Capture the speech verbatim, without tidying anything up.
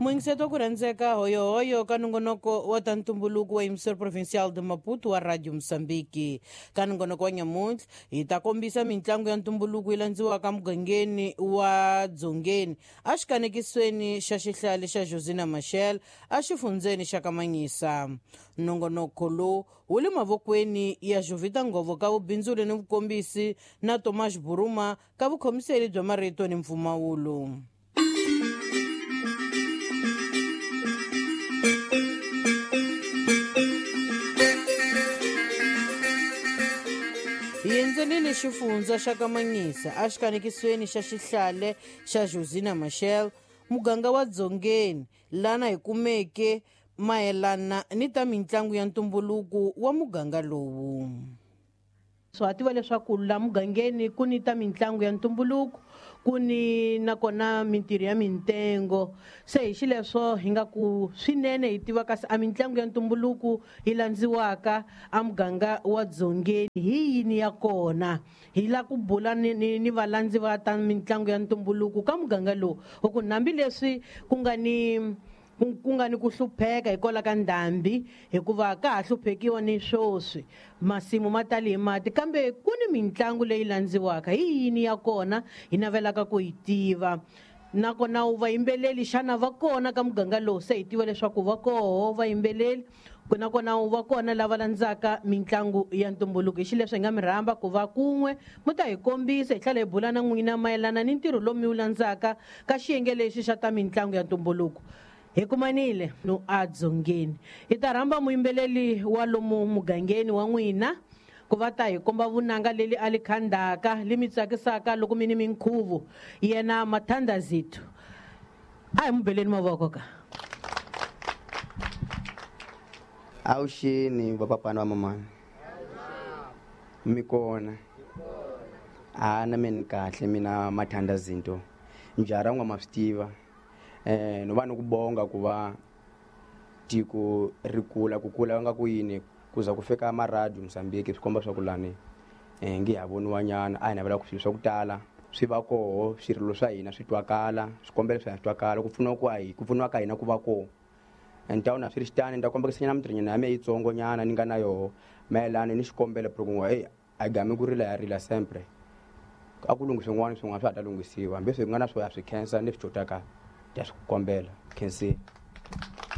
Muyingiseto ku rhandzeka hoyohoyo ka nongonoko wa ta ntumbuluko wa Emissora Provincial de Maputo wa Radio Mozambique. Ka nongonoko wa nyamuntlha hi ta kombisa mitlangu ya ntumbuluko yi landziwaka mugangeni wa Dzongeni exikanekisweni xa xihlale xa Josina Machel exifundzeni xa Kamanyisa. Nongonoko lowu wu le mavokweni ya Jovita Ngovo ka vubindzuli ni vukombisi na Tomas Buruma ka vukhomiseli bya marito ni mpfumawulo. Hi endzelile xifundza xa Kamanyisa exikanekisweni xa xihlale xa Josina Machel, muganga wa Dzongeni, lana hi kumeke mayelana ni ta mitlangu ya ntumbuluko wa muganga lowu. So ha tiva leswaku la mugangeni ku ni ta mitlangu ya ntumbuluko, ku ni nakona mintirho ya mintengo. Se hi xileswo hi nga ku swinene hi tiva kasi a mitlangu ya ntumbuluko yi landziwaka a muganga wa Dzongeni hi yini ya kona. Hi la ku bula ni, ni, ni valandzi va ta mitlangu ya ntumbuluko ka muganga lowu, hi ku hambileswi ku nga ni ku nga ni ku hlupheka hikwalaho ka ndhambi, hikuva ka ha hluphekiwa ni swoswi, masimu ma tali hi mati, kambe ku ni mitlangu leyi landziwaka. Hi yini ya kona hi navelaka ku yi tiva? Nakona vayimbeleli xana va kona ka muganga lowu? Se hi tiva leswaku va koho vayimbeleli, nakona va kona lava landzaka mitlangu ya ntumbuluko. Hi xileswo hi nga mi rhamba ku va kun'we mi ta hi kombisa, hi tlhela hi bula na n'wina mayelana ni ntirho lowu mi wu landzaka ka xiyenge lexi xa ta mitlangu ya ntumbuluko. Hi kumanile no a Dzongeni. Hi ta rhamba muyimbeleli wa lomu mugangeni wa n'wina ku va ta hi komba vunanga leli a li khandaka li mi tsakisaka loko mi ni minkhuvo, yena Mathandazithu. A hi mu beleni mavoko ka. Awuxini vapapana va mamani, mi kona? A na mina kahle, mina Mathandazinto njhara n'wa ma swi tiva. Eh no va ni ku bonga ku va tiko ri kula, ku kula nga ku yini ku za ku fika ma Radio Mozambique swi komba swa ku lani eh ngi ha voniwa nyana. A hi navela ku swilo swa ku tala swi va koho, swirilo swa hina swi twakala, swikombelo swa hina swi twakala, ku pfuniwa ku hi ku pfuniwa ka hina ku va koho. And ta na swi ri xitani, ni ta kombekisa nyana mintirho nyana ya mehe yitsongo nyana ni nga na yoho mayelana ni xikombelo ku n'wa hey a gami ku rila ya rila sempre, a ku lunghisiwe swin'wana swin'wana swa ha ta lunghisiwa, hambi swi nga na swo ya swi khensa ni swi xotaka ya swi kombela. Khensile.